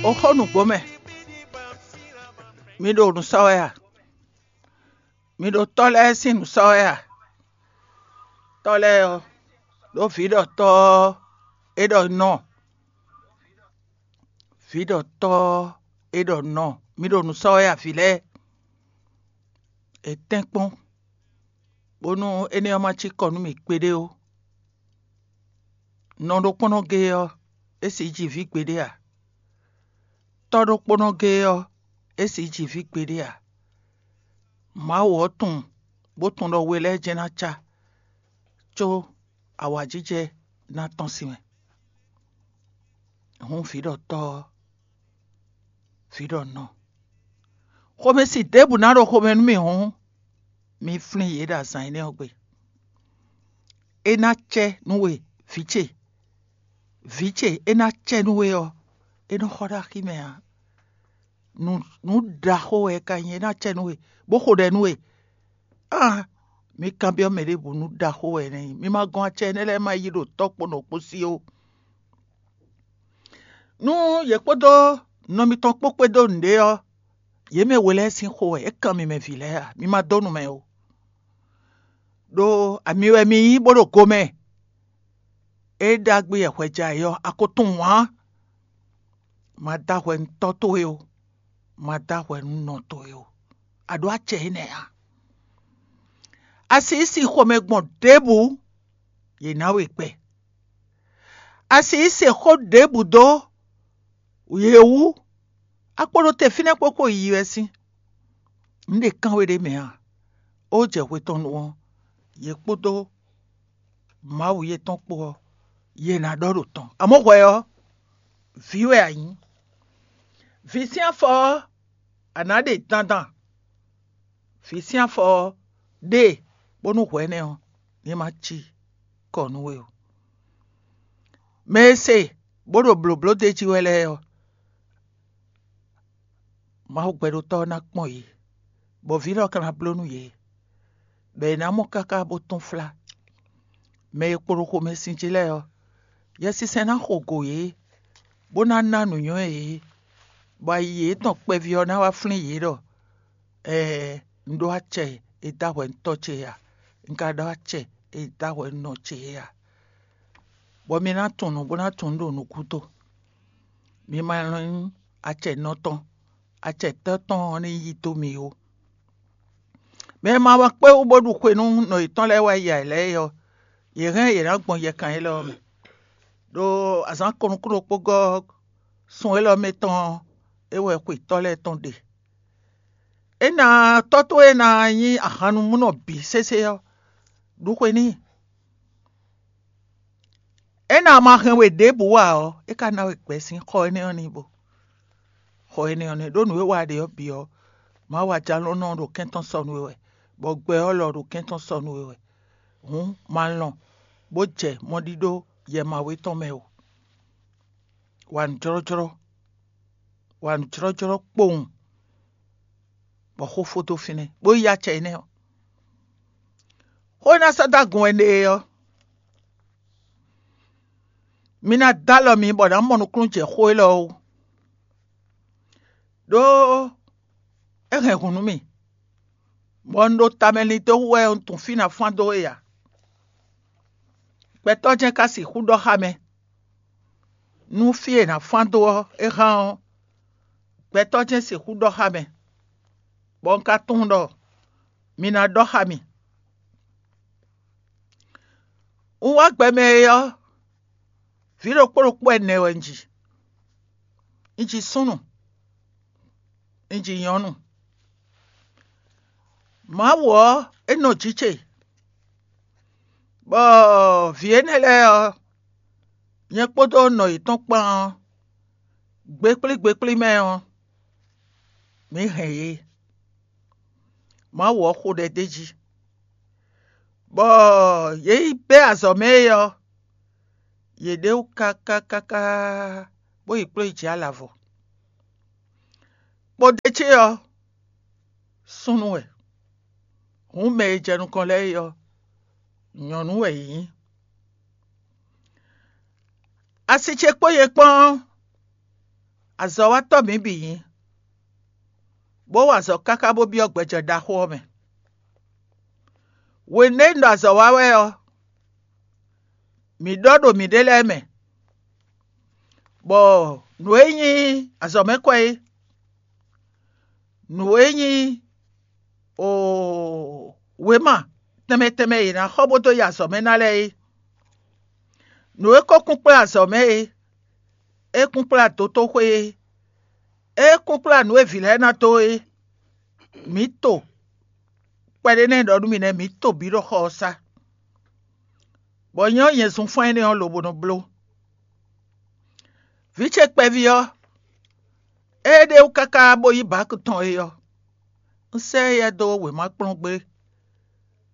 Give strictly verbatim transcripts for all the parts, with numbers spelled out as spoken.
Ó xo nǔgbó mɛ. Mi ɖo nǔ sɔ́ wɛ a? Mi ɖo tɔ́ lɛ́ɛ sín nǔ sɔ́ wɛ a? Tɔ́ lɛ́ɛ ɔ́, ɖó vǐ ɖɔ tɔ́ ɔ́, é ɖɔ nɔ. Vǐ ɖɔ tɔ́ ɔ́, é ɖɔ nɔ. Mi ɖo nǔ sɔ́ wɛ a, vǐ lɛ́ɛ? È tɛ́nkpɔ́n, bónú énɛ́ ɔ́ ma cí kɔ nú mì kpeɖé ó. Nɔ ɖokpónɔ géé ɔ́, é sixú ji vǐ gbeɖé ǎ. Tɔ́ ɖokpónɔ géé ɔ́, é sixú ji vǐ gbeɖé ǎ. Mawu ɔ́ tunwun, bó tunwun ɖɔ we lɛ́ɛ jɛ́n ná cá, có awǎjijɛ ná tɔ́n sín mɛ. Hǔn vǐ ɖɔ tɔ́ ɔ́, vǐ ɖɔ nɔ. Xomɛsin ɖěbǔ ná ɖo xomɛ nú mì hǔn, mi flín yě ɖo azǎn énɛ́ ɔ́ gbe. É ná cɛ nú we, vǐ ce, vǐ ce, é ná cɛ nú we ɔ́, é nɔ xɔ ɖó axi mɛ ǎ. Nǔ nǔ ɖaxó wɛ é ka nyí, é ná cɛ nú we, bó xo ɖɛ nú we. Aa, mi kanbyɔ́ mɛ ɖěbǔ nú ɖaxó wɛ é nɛ́ nyí. Mi ma gɔn acɛ énɛ́ lɛ́ɛ ma yí ɖo tɔ́ kpó nɔ kpó sí ó. Nú yě kpódó nɔ mitɔn kpó kpédó nǔɖé ɔ́, yě mɛ we lɛ́ɛ sín xo wɛ é kan mi mɛ vǐ lɛ́ɛ a? Mi ma dó nu mɛ ó. Ɖó ami wɛ mi nyí bó ɖo go mɛ. É ɖagbe wɛ hwɛ jɛ ayǐ ɔ́, a ko tunwun ǎ. Ma dó ahwɛ nú tɔ́ towe ó, ma dó ahwɛ nú nɔ towe ó. A ɖǒ acɛ énɛ́ ǎ. A sixú sin xomɛ gbɔn ɖěbǔ, yě ná we gbɛ. A sixú se xó ɖěbǔ dó yě wú, a kpo ɖo te fínɛ́ kpókpó yiyi wɛ sín. Un ɖe kán we ɖ'é mɛ a? Ó jɛ hwe tɔn nu ɔ́, yě kpódó Mawu yětɔn kpó ɔ́, yě ná ɖɔ ɖo tɔn. Amɔ̌ hwɛ ɔ́, vǐ wɛ a nyǐ. Vǐ sín afɔ ɔ́, a nǎ ɖe dandan. Vǐ sín afɔ ɔ́, ɖe bónú hwɛ énɛ́ ɔ́, ní ma cí kɔ nú we ó. Mɛ e se bó ɖo blǒbló d'é jí wɛ lɛ́ɛ ɔ́, Mawu gbɛɖótɔ́ ɔ́ ná kpɔ́n yě, bɔ vǐ lɔ ka ná bló nú yě, bɔ è nǎ mɔ káká bó tún flá. Mɛ e kpo ɖo xomɛsin jí lɛ́ɛ ɔ́, Yɛsinsɛn ná xo gǒ yě, bó ná ná nǔnywɛ́ yě, bɔ ayi yětɔn kpɛví ɔ́ ná wá flín yě ɖɔ: Ɛɛ, un ɖó acɛ e dó ahwɛ nú tɔ́ ce é a? Un ka ɖó acɛ e dó ahwɛ nú nɔ ce é a? Bɔ mi ná tunwun nǔ bó ná tunwun nǔ ɖo nukúnto. Mi ma nyí acɛ nɔ tɔn, acɛ tɔ́ tɔn ɔ́ ní yí dó mi ó. Mɛ e ma wá kpé wú bó ɖu xwe nú nɔ yětɔn lɛ́ɛ wá yi ayǐ lɛ́ɛ é ɔ́, yě hɛn yě ná gbɔn yɛkan élɔ́ ɔ́ mɛ. Ɖo azǎn kɔn nukúnnú kpó gɔ́ sun élɔ́ mɛ tɔn ɔ́, é wɛ xwetɔ́ lɛ́ɛ tɔn ɖe. É ná tɔ́ towe e ná nyí ahannumúnɔ bǐ sésé ɔ́, ɖu xwe n'i. É ná ma hɛn we ɖěbǔ ǎ ɔ́, é ka ná we gbɛ sín xɔ énɛ́ ɔ́ n'i bo. Xɔ énɛ́ ɔ́ nɛ́ ɖó nǔ e wa ɖe ɔ́ bǐ ɔ́, Mawu ajǎlónɔ ɖo kɛ́n tɔn sɔ́ nú we wɛ, bɔ gbɛ ɔ́ lɔ ɖo kɛ́n tɔn sɔ́ nú we wɛ. Hǔn ma lɔn bó jɛ mɔɖíɖó yɛ Mawu tɔn mɛ o. Wa nǔjlɔ́jlɔ́, wa nǔjlɔ́jlɔ́ kpowun, bɔ xó fó dó fínɛ́, bó yí acɛ énɛ́ ɔ́. Xó e ná sɔ́ dó agun wɛ ɖe é ɔ́, mi ná dó alɔ mi bɔ nǎ mɔ nukúnnú jɛ xó élɔ́ wú. Ɖó é hɛn hǔn nú mì, bɔ un ɖo tamɛ lin dó wú wɛ un tunwun fí ná fán dó é ǎ. Gbɛtɔ́ jɛ́n ka sixú ɖɔ xá mɛ, nú fí e è nǎ fán dó ɔ́ é hán ɔ́, gbɛtɔ́ jɛ́n sixú ɖɔ xá mɛ, bɔ un ka tunwun ɖɔ mi ná ɖɔ xá mì. Un wá gbɛ mɛ é ɔ́, vǐ ɖokpó ɖokpó ɛnɛ wɛ un ji. Un ji súnnu, un ji nyɔ̌nu. Mawu ɔ́, é nɔ jǐ ce, bɔ vǐ énɛ́ lɛ́ɛ ɔ́, nyɛ kpódó nɔ yětɔn kpán ɔ́, gbeklí gbeklí mɛ ɔ́, mǐ hɛn yě. Mawu ɔ́ xo ɖɛ d'é jí, bɔ yě yi bɛ́ azɔ̌ mɛ é ɔ́, yě ɖe wú káká káká, bó yi kplɔ́n yi jǐ alavɔ. Kpodé ce ɔ́, súnnu wɛ, hǔn mɛ e jɛ nukɔn lɛ́ɛ é ɔ́, nyɔ̌nu wɛ yě nyí. Asi ce kpó nyɛ kpán ɔ́, Azɔ̌watɔ́ mǐ bǐ nyí, bó wa azɔ̌ káká bó byɔ́ gbɛjɛ ɖaxó ɔ́ mɛ. Hwenu e un ɖo azɔ̌ wa wɛ ɔ́, mǐ ɖɔ ɖo mǐɖée lɛ́ɛ mɛ, bɔ nǔ e nyí azɔ̌mɛkwɛ é, nǔ e nyí o wěma tɛnmɛ tɛnmɛ e è nǎ xɔ bó dó yi azɔ̌ mɛ ná lɛ́ɛ é, nǔ e ko kún kplá azɔ̌ mɛ é, é kún kplá dotóxwé é, é kún kplá nǔ e vǐ lɛ́ɛ ná dó é, mǐ to kpɛɖé nɛ́ ɖɔ nú mì nɛ́, mǐ to bǐ ɖo xɔ ɔ́ sá, bɔ nyɛ ɔ́, nyɛ zunfán énɛ́ ɔ́ lobo nɔ bló. Vǐ ce kpɛví ɔ́, ée ɖe wú káká bó yí Baki tɔn é ɔ́, un sɛ́ éyɛ́ dó wěmakplɔ́ngbé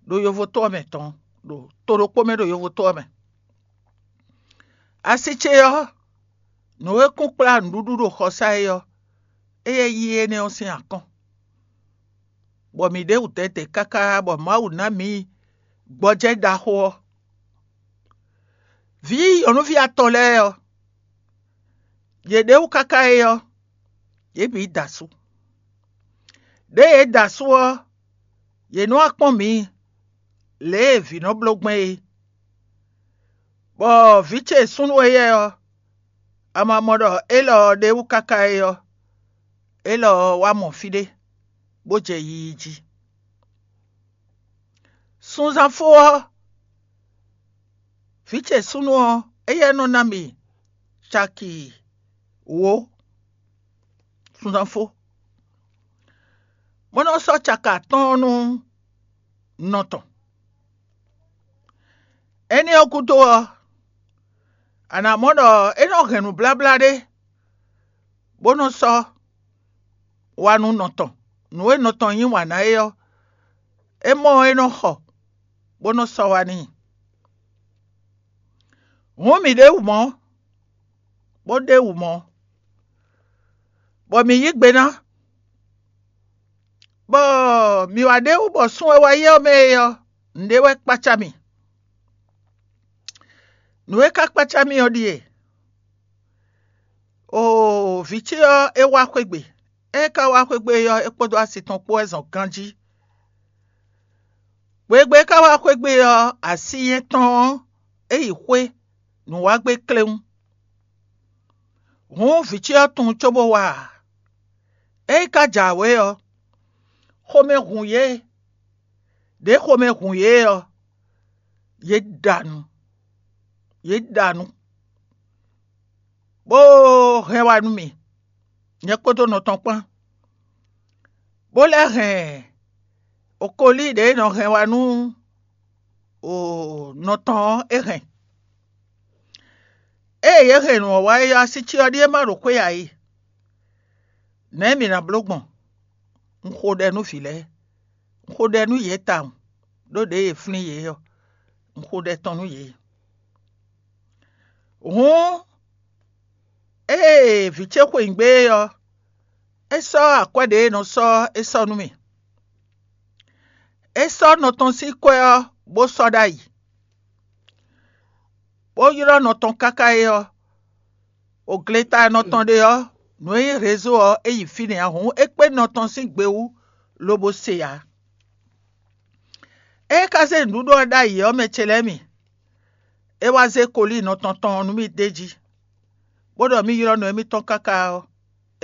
ɖo yovóto ɔ́ mɛ tɔn, ɖo to ɖokpó mɛ ɖo yovóto ɔ́ mɛ. Asi ce ɔ́, nǔ e kún kplá nǔɖuɖu ɖo xɔsá é ɔ́, éyɛ́ yí énɛ́ ɔ́ sín akɔ́n, bɔ mǐ ɖe wǔ dɛdɛ káká bɔ Mawu ná mǐ gbɔjɛ́ ɖaxó ɔ́. Vǐ nyɔ̌nuví atɔn lɛ́ɛ ɔ́, yě ɖe wú káká é ɔ́, yě bǐ da asú. Ɖěe yě da asú ɔ́, yě nɔ wá kpɔ́n mǐ lě e vǐ nɔ bló gbɛn é. Bɔ vǐ ce súnnu éyɛ́ ɔ́, a ma mɔ ɖɔ élɔ́ ɔ́ ɖe wú káká é ɔ́, élɔ́ ɔ́ wá mɔ fí ɖé, bó jɛ yiyi jí. Sunzán fó ɔ́, vǐ ce súnnu ɔ́, éyɛ́ nɔ ná mì caki wǒ sunzán fó, bó nɔ́ sɔ́ caki atɔ́ɔ́n nú nɔ tɔn. Énɛ́ ɔ́ gúdo ɔ́, a nǎ mɔ ɖɔ é nɔ hɛn nǔbláblá ɖé, bó nɔ́ sɔ́ wá nú nɔ tɔn. Nǔ e nɔ tɔn yí wǎn ná é ɔ́, é mɔ ɔ́, é nɔ xɔ, bó nɔ́ sɔ́ wá n'i. Hǔn mǐ ɖe wǔ mɔ̌, bó ɖe wǔ mɔ̌, bɔ mǐ yí gbe ná, bɔ mǐ wá ɖe wú bɔ sun e wá yi ɔ́ mɛ é ɔ́, nǔɖé wɛ kpácá mì. Nǔ e ka kpácá mì ɔ́ ɖíe: oo, vǐ ce ɔ́, é wá xwé gbe. Ée é ka wá xwé gbe ɔ́, é kpódó asi tɔn kpó wɛ zɔn ganjí. Hwegbe e é ka wá xwé gbe ɔ́, así nyɛ tɔn ɔ́, é yi xwé nǔ wá gbé kléwún. Hǔn vǐ ce ɔ́ tunwun cóbó wá ǎ. Ée é ka jǎwe ɔ́, xomɛ hun yě. Ɖě xomɛ hun yě ɔ́, yě ɖa nǔ, yě ɖa nǔ, bó hɛn wá nú mì, nyɛ kpódó nɔ tɔn kpán, bó lɛ́ hɛn okolí ɖě nɔ hɛn wá nú nɔ tɔn ɔ́, é hɛn. Ée yě hɛn nǔ ɔ́ wá é ɔ́, así ce ɔ́ ɖíe ma ɖo xwé ǎ é. Nɛ̌ mǐ ná bló gbɔn? Un xo ɖɛ nú vǐ lɛ́ɛ, un xo ɖɛ nú yě tawun, ɖó ɖěe è flín yě ɔ́, un xo ɖɛ tɔn nú yě. Hǔn, ée vǐ ce xweyǐgbe é ɔ́, é sɔ́ akwɛ́ ɖě e è nɔ sɔ́ ɔ́, é sɔ́ nú mì. É sɔ́ nɔ tɔn sín kwɛ́ ɔ́, bó sɔ́ ɖ'ayǐ, bó ylɔ́ nɔ tɔn káká é ɔ́, o gleta e nɔ tɔn ɖe ɔ́, nǔ e nyí rezo ɔ́, é yi fínɛ́ ǎ. Hǔn é kpé nɔ tɔn sín gbe wú, lobo se ǎ. Ée é ka zé nǔɖuɖu ɔ́ ɖ'ayǐ ɔ́, mɛ ce lɛ́ɛ mi, é wá zé kolíi nɔ tɔn tɔn ɔ́ nú mì d'é jí, bó ɖɔ mì ylɔ́ nɔ émítɔn káká ɔ́,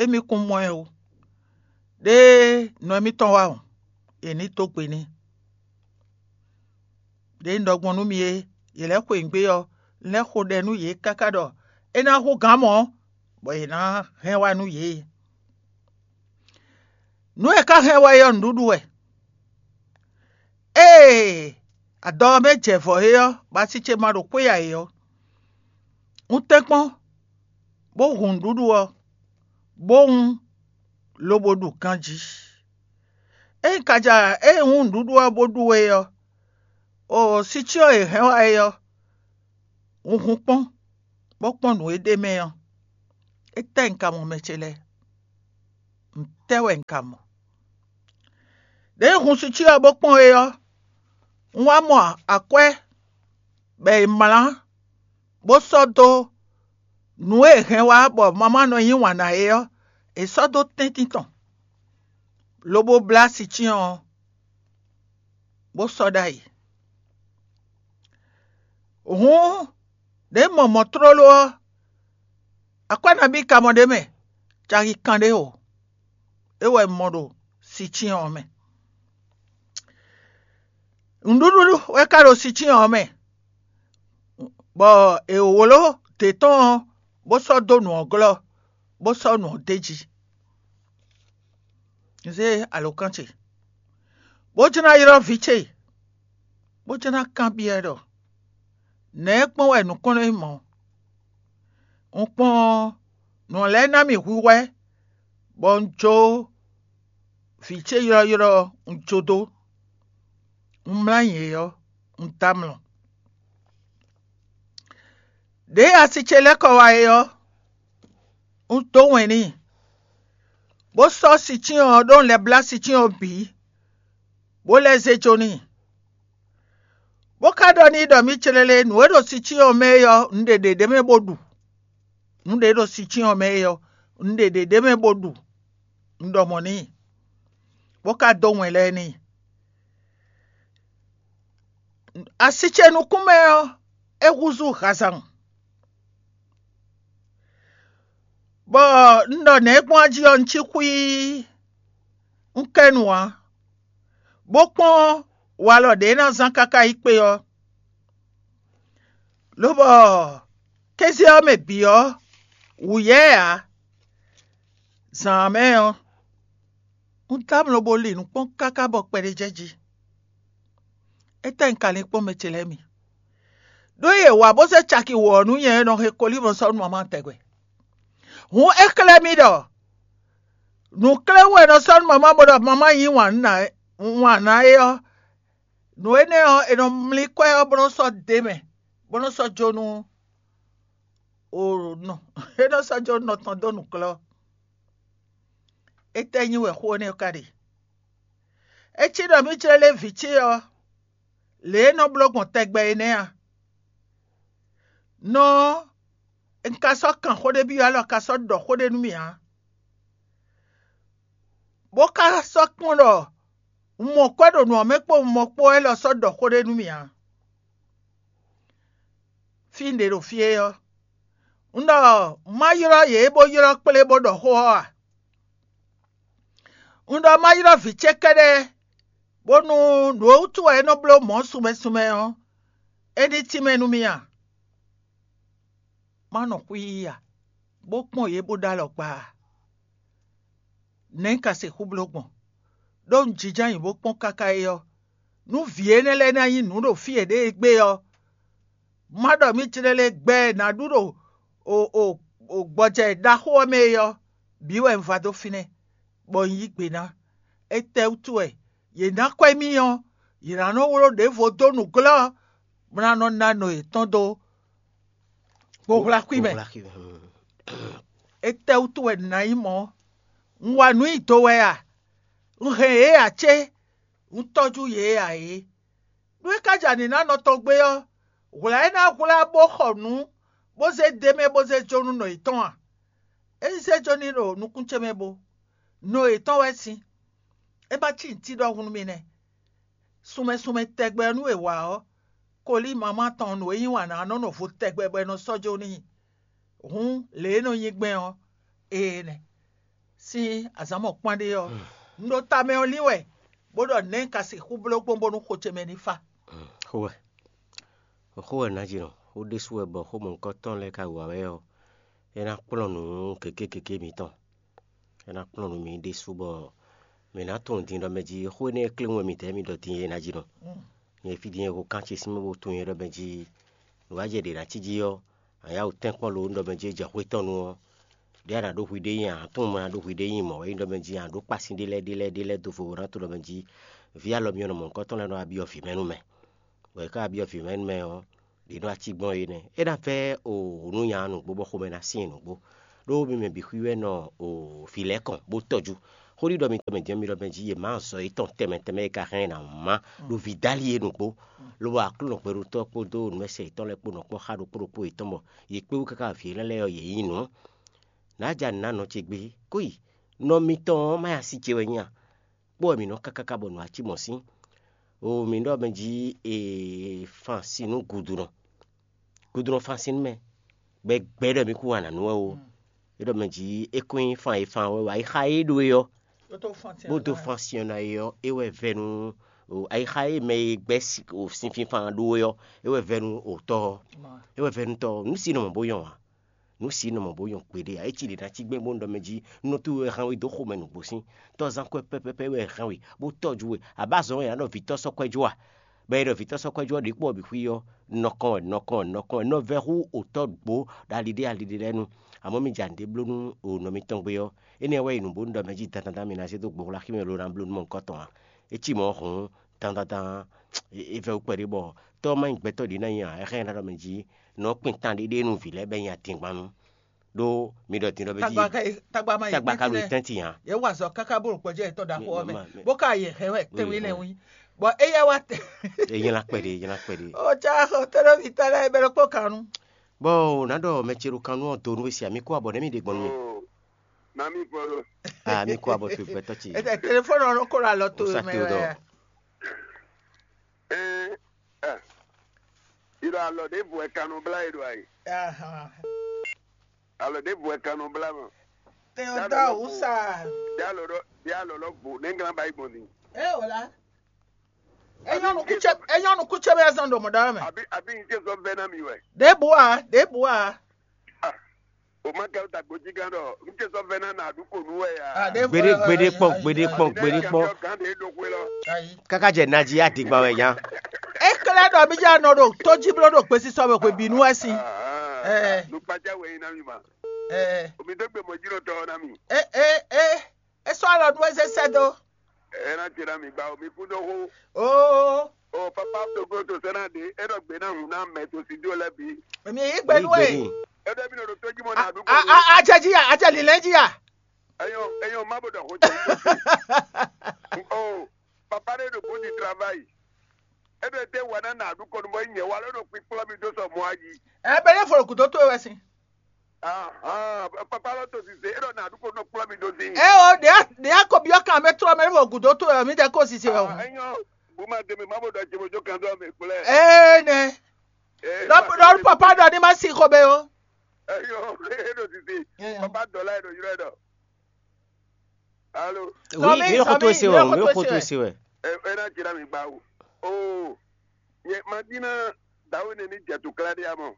émí kún mɔ ɛ ó. Ɖěe nɔ émítɔn wá hɔn, è nǐ dó gbe n'i. Ɖě un ɖɔ gbɔn nú mi é, yě lɛ́ xweyǐgbe ɔ́, un lɛ́ xo ɖɛ nú yě káká ɖɔ é ná hú gǎn mɔ̌, bɔ yě ná hɛn wá nú yě. Nǔ e ka hɛn wá é ɔ́, nǔɖuɖu wɛ. Ée adɔ ɔ́ mɛ jɛ vɔ̌ é ɔ́, bɔ asi ce ma ɖo xwé ǎ é ɔ́, un tɛ́nkpɔ́n, bó hun nǔɖuɖu ɔ́, bó wún, lobo ɖu ganjí. Ényí ka ja ée un wún nǔɖuɖu ɔ́ bó ɖu é ɔ́, o sicyɔ́ e hɛn wá é ɔ́, un hun kpɔ́n, bó kpɔ́n nǔ e ɖ'é mɛ ɔ́, étɛ́ un ka mɔ mɛ ce lɛ́ɛ? Ntɛ́ wɛ un ka mɔ? Ɖěe un hun sicyɔ́ ɔ́ bó kpɔ́n é ɔ́, un wá mɔ akwɛ́ bɔ è mlǎ, bó sɔ́ dó Nǔ e è hɛn wá bɔ mamá nɔ yí wǎn ná é ɔ́, è sɔ́ dó tɛ́ntin tɔn, lobo blá sicyɔn ɔ́, bó sɔ́ ɖ'ayǐ. Hǔn, ɖě mɔ mɔ̌ tlóló ɔ́, akwɛ́ nabí ka mɔ ɖ'é mɛ? Caki kanɖé o. É wɛ un mɔ ɖo sicyɔn ɔ́ mɛ. Nǔɖuɖu wɛ ka ɖo sicyɔn ɔ́ mɛ, bɔ è wló dě tɔn ɔ́, bó sɔ́ dó nǔ ɔ́ glɔ́, bó sɔ́ nǔ ɔ́ d'é jí. Un zé alǒkan ce, bó jló ná ylɔ́ vǐ ce, bó jló ná kanbyɔ́ ɛ ɖɔ: Nɛ̌ gbɔn wɛ nǔ kɔn nɔ nyí mɔ̌? Un kpɔ́n ɔ́, nǔ lɛ́ɛ ná mì hwíhwɛ́, bɔ un jó vǐ ce ylɔ́ylɔ́ ɔ́, un jó dó. Un mlá nyi yě ɔ́, un dɔ́ amlɔ. Ɖěe asi ce lɛ́ kɔ wá é ɔ́, un dó wɛn n'i, bó sɔ́ sicyɔn ɔ́ ɖó un lɛ́ blá sicyɔn ɔ́ bǐ, bó lɛ́ zé jó n'i. Bó ka ɖɔ n'i ɖɔ mǐ clɛ́lɛ́ nǔ e ɖo sicyɔn ɔ́ mɛ é ɔ́, un ɖe ɖě ɖ'é mɛ bó ɖu. Nǔ ɖě ɖo sicyɔn ɔ́ mɛ é ɔ́, un ɖe ɖě ɖ'é mɛ bó ɖu. Un ɖɔ mɔ̌ n'i, bó ka dó wɛn lɛ́ɛ n'i. Asi ce nukún mɛ ɔ́, é húzú hazan, bɔ un ɖɔ nɛ̌ gbɔn jí ɔ́, un cí xwíí, un kɛ nu ǎ, bó kpɔ́n walɔ ɖě ná zán káká yi kpé ɔ́. Lobɔ kéze ɔ́ mɛ bǐ ɔ́, wǔ yá ɛ ǎ. Zǎn ɔ́ mɛ ɔ́, un dɔ́ amlɔ bó li nǔ kpɔ́n káká bɔ kpɛɖé jɛ jí. Étɛ́ un ka lin kpɔ́n mɛ ce lɛ́ɛ mi? Ɖó yě wá bó zé caki wǒ ɔ́ nú nyɛ e nɔ he kolímɔ sɔ́ nú mamá tɛgbɛ. Hǔn é xlɛ́ mì ɖɔ nǔkléwún e nɔ sɔ́ nú mamá bó ɖɔ mamá yí wǎn ná é ɔ́, nǔ énɛ́ ɔ́, è nɔ mlí kwɛ́ ɔ́ bó nɔ́ sɔ́ d'é mɛ, bó nɔ́ sɔ́ jó nú o nɔ é nɔ́ sɔ́ jó nɔ tɔn dó nǔklɔ́. Étɛ́ nyí wɛ xó énɛ́ ɔ́ ka ɖe? É cí ɖɔ mǐ jlɛ́ lé vǐ ce ɔ́, lě e é nɔ bló gbɔn tɛgbɛ é nɛ́ a? Nɔ ɔ́, un ka sɔ́ kan xó ɖé byɔ́ alɔ ka sɔ́ ɖɔ xó ɖé nú mì ǎ, bó ka sɔ́ kpɔ́n ɖɔ un mɔ kwɛ́ ɖo nǔ ɔ́ mɛ kpó un mɔ kpó wɛ lɔ sɔ́ ɖɔ xó ɖé nú mì ǎ. Fí un ɖe ɖo fí é ɔ́, un ɖɔ má ylɔ́ yě bó ylɔ́ kplé bó ɖɔ xó ɔ́ a? Un ɖɔ má ylɔ́ vǐ ce kɛ́ɖɛ́, bónú nǔ e wútu wɛ é nɔ bló mɔ̌ sunmɛ sunmɛ ɔ́, é ní tínmɛ nú mì a? Má nɔ xwíí a, bó kpɔ́n yě bó ɖó alɔ gba a? Nɛ̌ un ka sixú bló gbɔn? Ɖó un jínjɔ́n ayǐ bó kpɔ́n káká é ɔ́, nú vǐ énɛ́ lɛ́ɛ ná nyí nǔ ɖo fí yěɖée gbé ɔ́, má ɖɔ mǐ jlɛ́ lɛ́ɛ gbɛ e nǎ ɖu ɖo o o o gbɔjɛ́ ɖaxó ɔ́ mɛ é ɔ́, bǐ wɛ un va dó fínɛ́, bɔ un yí gbe ná. Étɛ́wútu wɛ? Yě ná kwɛ́ mì ɔ́, yě ná nɔ wló ɖěvo dó nǔglɔ́, bó ná nɔ ná nɔ yětɔn dó kpohwláxwí mɛ. Étɛ́wútu wɛ nǎ nyí mɔ̌? Un wa nǔ nyi do wɛ a? Un hɛn yě ǎ cé? Un tɔ́jú yě ǎ é? Nú é ka ja nǐ ná nɔ tɔn gbé ɔ́, hwlǎ é ná hwlá bó xɔ nǔ, bó zé d'é mɛ bó zé jó nú nɔ yětɔn a? É ní zé jó n'i ɖo nukún ce mɛ bo. Nɔ yětɔn wɛ sín. É ma cí nǔtí ɖɔhun nú mi nɛ́. Sunmɛ sunmɛ tɛgbɛ nú è wa ɔ́, kolí mamá tɔn nǔ e yí wǎn ná nɔ nɔ vo tɛgbɛ bɔ è nɔ sɔ́ jó n'i. Hǔn lě e nɔ nyi gbɛn ɔ́, ee nɛ. Sín azǎn mɔ̌kpán ɖé ɔ́, un ɖo tamɛ ɔ́ lín wɛ, bó ɖɔ nɛ̌ un ka sixú bló gbɔn bónú xo ce mɛ ní fa. Xó wɛ, xó wɛ nǎjínɔ, xó ɖésú wɛ bɔ xó mɔ̌hunkɔtɔn lɛ́ɛ ka wa wɛ ɔ́, é ná kplɔ́n nǔ gěgé gěgé mǐtɔn. É ná kplɔ́n nǔ mǐ ɖésú bɔ mǐ ná tunwun din ɖɔ mɛ jí xó énɛ́ e kléwún wɛ mǐdɛɛ mì ɖɔ din é ná jí nɔ. Nyɛ fí din e ho kán ce sín mɛ bó tunwun nyɛ ɖɔ mɛ jí nǔwájɛ ɖě ná cí jí ɔ́, a yá wǔ tɛ́nkpɔ́n lo un ɖɔ mɛ jí é jɛ xwé tɔn nu ɔ́, ɖěe a nǎ ɖó hwi ɖé nyi a, a tunwun mɔ a nǎ ɖó hwi ɖé nyi mɔ̌ wɛ nyí ɖɔ mɛ jí a ɖó kpásin ɖé lɛ́ɛ ɖé lɛ́ɛ ɖé lɛ́ɛ dó vo bó ná tunwun ɖɔ mɛ jí vǐ alɔ myɔ nɔ mɔ̌hunkɔtɔn lɛ́ɛ nɔ wá byɔ́ vǐ mɛ nú mɛ. Bɔ è ká wá byɔ́ vǐ mɛ nú mɛ ɔ́, ɖě nɔ wá cí gbɔn é nɛ́. É ná vɛ́ o nǔ nya nǔgbó bɔ xomɛ ná syɛ́n nǔgbó. ɖó mi mɛ bǐ xwíwɛ́nɔ o vǐ lɛ́ɛ kɔn bó tɔ́jú. Xó ɖiɖɔ mitɔn mɛ din ɔ́, mi ɖɔ mɛ jí yě má zɔ yětɔn tɛnmɛ tɛnmɛ e ka hɛn ɛ ná má ɖo vǐ dálí e nǔgbó, lobo Aklúnɔ gbɛɖotɔ́ kpódó nǔmɛsɛ yětɔn lɛ́ɛ kpó nɔ kpɔ́n xá ɖokpó ɖokpó yětɔn bɔ yě kpé wú káká vǐ énɛ́ lɛ́ɛ ɔ́, yě nyí nǔ. Nǎ ja nǔ ná nɔ ce gbé kó yi, nɔ mitɔn ɔ́ má ya sí ce wɛ nyí a? Kpó wɛ mǐ nɔ káká ká bɔ nǔ ǎ cí mɔ̌ sín. O mǐ ɖɔ mɛ jí e fan sin nú gudunɔ. Gudunɔ fan sin nú mɛ, bɔ é gbɛ́ ɖɔ mǐ kún wa nǎ nú wɛ ó. É ɖɔ mɛ jí é kún nyí fan e fan wɛ wɛ ayixa e é ɖó é ɔ́, bó dó fan sin ɔ́ ná é ɔ́, é wɛ vɛ́ nú ayixa e mɛ e gbɛ́ sinfínfan ɖó é ɔ́, é wɛ vɛ́ nú òtɔ́ ɔ́, é wɛ vɛ́ nú tɔ́ ɔ́. Nǔ si nɔ mɔ bó nyɔ́ ǎ. Nǔ si nɔ mɔ bó nyɔ́ kpéɖé ǎ. É cí ɖě ná cí gbɛ́ bó nɔ ɖɔ mɛ jí nɔtú wɛ hɛn we dó xomɛ nǔgbó sín. Tɔ́zán kwɛ́ pɛ́pɛ́pɛ́ wɛ hɛn we bó tɔ́jú we. Abá zɔn wɛ ná ɖɔ vǐtɔ́ sɔ́ kwɛ́ jó a? Bɔ è ɖɔ vǐtɔ́ sɔ́ kwɛ́ jó ɔ́ ɖě kpó ɔ́ bǐ xwí ɔ́, nɔkɔn wɛ nɔkɔn wɛ nɔkɔn wɛ nɔ vɛ́ hú òtɔ́ ɖǒ ɖo ali ɖé ali ɖé lɛ́ɛ nu. Amɔ̌ mi ja nǔɖé bló nú o nɔ mitɔn gbé ɔ́, énɛ́ wɛ yi nǔ bónú ɖɔ mɛ jí dandandan mi ná zé dó gbɔxlá xí mɛ lo ná bló nú mɔ nukɔn tɔn ǎ. É cí mɔ̌ hǔn dandandan é vɛ́ wú kpɛɖé bɔ tɔ́ má nyí gbɛtɔ́ ɖě ná nyí ǎ, é hɛn ná ɖɔ mɛ jí nɔ kpin tan ɖéɖé nú vǐ lɛ́ɛ bɔ é nyí adingban nu. Ɖó mi ɖɔ din ɖɔ mɛ jí tagba ka ɖo tɛ́ntin ǎ. Yě wa azɔ̌ káká bó ɖo gbɔjɛ́ yětɔn ɖo axɔ ɔ́ mɛ, bó ka yě hɛn wɛ tɛnwé nɛ́ wí, bɔ éyɛ́ wá tɛ. È nylá kpɛɖé, è nylá kpɛɖé. Ó cá xɔ tɛ́nɔ́ví tɔn lɛ́ɛ bɛ ɖokpó kan nu. Bɔ ò ná ɖɔ mɛ ce ɖo kan nú ɔ́ do nú we sia mi kó abɔ nɛ́ mi ɖe gbɔn nú mi. Na mi fɔ ɖo. Ah, mi kó abɔ towe gbɛtɔ́ ce. Ètè téléphone ɔ́ nɔ kó ɖo alɔ towe mɛ wɛ. Ɛ ɛ ìlɔ alɔ ɖěbǔ wɛ kan nɔ blá yě ɖo ayǐ. Alɔ ɖěbǔ wɛ kan nɔ blá mɔ. Tɛn ɔ́ dó awǔ sa. Bí alɔ ɖɔ bí alɔ lɔ vo nɛ́ glán ba yi gbɔn din. Ɛ wò la. Enyɔnu kutsɛ enyɔnu kutsɛ bɛ zɔn ɖo mɔɖɔ mɛ. Àbí àbí n ṣe sɔ bɛ ná mi wɛ. Ɖěbǔ a ɖěbǔ a. O ma kɛ ta gbojí gán ɖɔ n ṣe sɔ bɛ ná nà àdúgbò nú wɛ ya. Gbede gbede kpɔn gbede kpɔn gbede kpɔn. Gán ɖe ɖo xwe lɔ. Káká jɛ naji adigban wɛ nya. Ekele ɖɔ mi dza nɔ ɖo tójí bló ɖo gbesisɔ mɛ hwebǐnu wɛ sin. Nukpatsa wɛ nyi ná mi ma. Omi dó gbe mɔ jí lɔ tɔ ná mi. E e e e sɔ alɔ nú eze sɛ dó. Ena tira mi gba omi kún dó hó. Oo. O papa togo to sɛnɛ de e ɖɔ gbe ná hun ná mɛ to si dó lɛ bi. Èmi yí gbé nú ẹ. E ɖɔ mi nɔ ɖo tójí mɔ ná dúgbò. Ajɛ jí ya, ajɛ lílɛ jí ya. Eyɔn eyɔn má bò dɔ xo jɛ. O papa ɖe ɖo bó di travail. E ɖɔ te wa ná nà ɖu kɔnu bɔ nyɛ wa lɔ ɖo kpikplɔ mi dó sɔ mɔ ayi. Ɛ bɛ ne fo gǔdo towe wɛ sin. Ahan, papa lɔ to sise, e ɖɔ nà ɖu kɔnu kplɔ mi dó sin. Ɛ o ɖe ɖe akɔbi ɔ́ kan mɛ trɔ mɛ ne fo gǔdo towe wɛ mi dɛ ko sise wɛ o. Enyɔ, bu ma de mi ma bo ɖɔ jebo jo kan dɔ mi kplɛ. Ee nɛ. Lɔ lɔ papa ɖɔ ni ma si xɔ bɛ o. Enyɔ, e ɖo sise. Papa dɔ la e ɖo yrɔ e ɖɔ. Alo. Oui, mi xɔ to se wɛ, mi xɔ to se wɛ. E na jira mi gba o. Oo. Nye ma dina dawe ne ni jɛ to kla ɖe amɔ.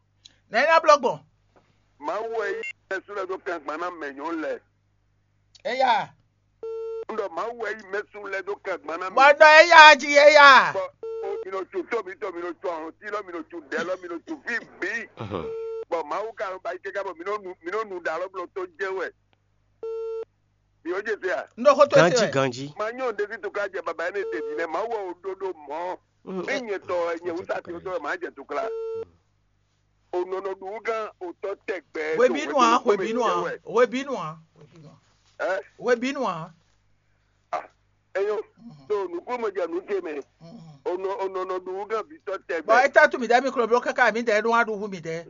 Nɛ na blɔ gbɔn. Mawu wɛ yi mɛsu lɛ do kan gban na mɛ nyɔ lɛ. Eya. N ɖɔ Mawu wɛ yi mɛsu lɛ do kan gban na mɛ. Bɔ dɔ eya ji eya. Bɔ o mi nɔ tso to mi tɔ mi nɔ tso ahɔn ti lɔ mi nɔ tso dɛ lɔ mi nɔ tso fi bi. Bɔ Mawu ka nɔ ba yi kɛkɛ bɔ mi nɔ nu mi nɔ nu da lɔ blɔ to jɛ wɛ. Mi o jɛ se a? N ɖo xo to se Ganji wɛ. Ganji. Ma nyɔ ɖe si to ka jɛ baba ne te bi ne Mawu wɛ o ɖo ɖo mɔ. Mm, Ne nyɛ tɔ wɛ nyɛ wusa ti o tɔ wɛ ma jɛ to kla. O nɔ nɔ ɖu gán o tɔ tɛgbɛ. Hwebínú a, hwebínú a, hwebínú a, hwebínú a. Ɛ? Hwebínú a. Ah, eyo. So nukúmɔ jɛ nu ce mɛ. O nɔ o nɔ nɔ ɖu gán vitɔ tɛgbɛ. Bɔn e ta tu mi dɛ mi klo blo kaka mi dɛ ɖo wa ɖu hu mi dɛ.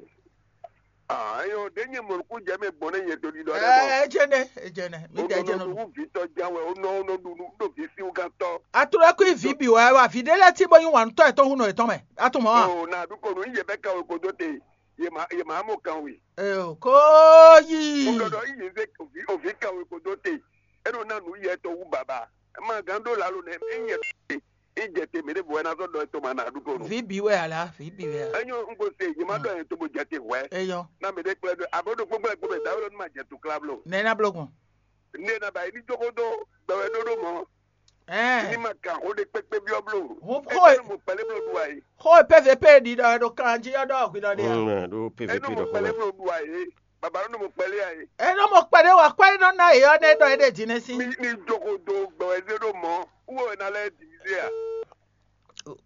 Ah, eyo ɖe nyɛ mɔ nukú jɛ mɛ gbɔn ne nyɛ to ɖiɖɔ ɖe mɔ. Ɛ ejene ejene mi O dɛ nɔ ejene nɔ nu. Ɖu vitɔ jan wɛ o nɔ o nɔ ɖu nu ɖo vi si gán tɔ. Atrɔ kú vi bi wɛ wa vi ɖe lɛ ti bɔ yin wa nutɔ etɔn hu nɔ etɔn mɛ. Ato mɔ wa. O na ɖu ko nu yɛ bɛ kan o kodo te. Yɛ ma yɛ ma mɔ kan wi. Eyo ko yi. Mo ɖɔ ɖɔ yi yɛ se ovi ovi kan o kodo te. E ɖo na nu yɛ tɔ wu baba. Ma gán ɖo lalo nɛ e nyɛ te. E jɛ te mɛ ɖe bɔ ɛ na zɔ ɖɔ etɔn ma na ɖu ko nu. Vi bi wɛ ala vi bi wɛ ala. Enyo n ko se yɛ ma ɖɔ yɛ to bo jɛ te hwɛ. Eyɔ. Na mɛ ɖe kplɛ ɖo abo ɖo kpɔkplɛ kpɔ mɛ dawe lɔ nu ma jɛ to kla blo. Nɛ na blo gbɔn. Ne na ba yi ni jogo do gbɛwɛ ɖoɖo mɔ. Ɛɛ. Ni ma kan xo ɖe kpekpe biɔ blo. Ho Ete ho ne mo kpɛlɛ blo ɖu ayi. Ho pɛvɛ pɛ ɖi ɖɔ ɖo kan jí ɔ́ ɖɔ hwi ɖɔ ɖe. Mm, ɖo Enu pvp mo ɖɔ kpɛlɛ xɔlɔ. Blo ɖu ayi. Baba nu mo kpɛlɛ ayi. Eno mo kpɛɖe wɔ kpɛɖe nɔ na yeyɔ ne ɖɔ eɖe dzi ne si. Ni ni jogo do gbɛwɛ ɖe ɖo mɔ. Wo na lɛ divize a.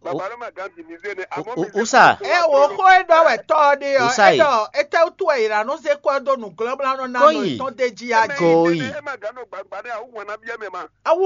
Baba ló ma gán di mi zé ne. Àmọ́ mi Usa. Ɛ wo xó e ɖɔ wɛ tɔ ɔ́ ɖe ɔ́, Usa é yi. Ɖɔ étɛ́ wútu wɛ è nǎ nɔ zé kɔ ɛ dó nǔglɔ́blánɔ ná Kó nɔ yi. Tɔn d'é jí a jí. Kó yi. É ma gán nɔ gbagba ní àwọn wọn nábíyá mɛ ma. Awu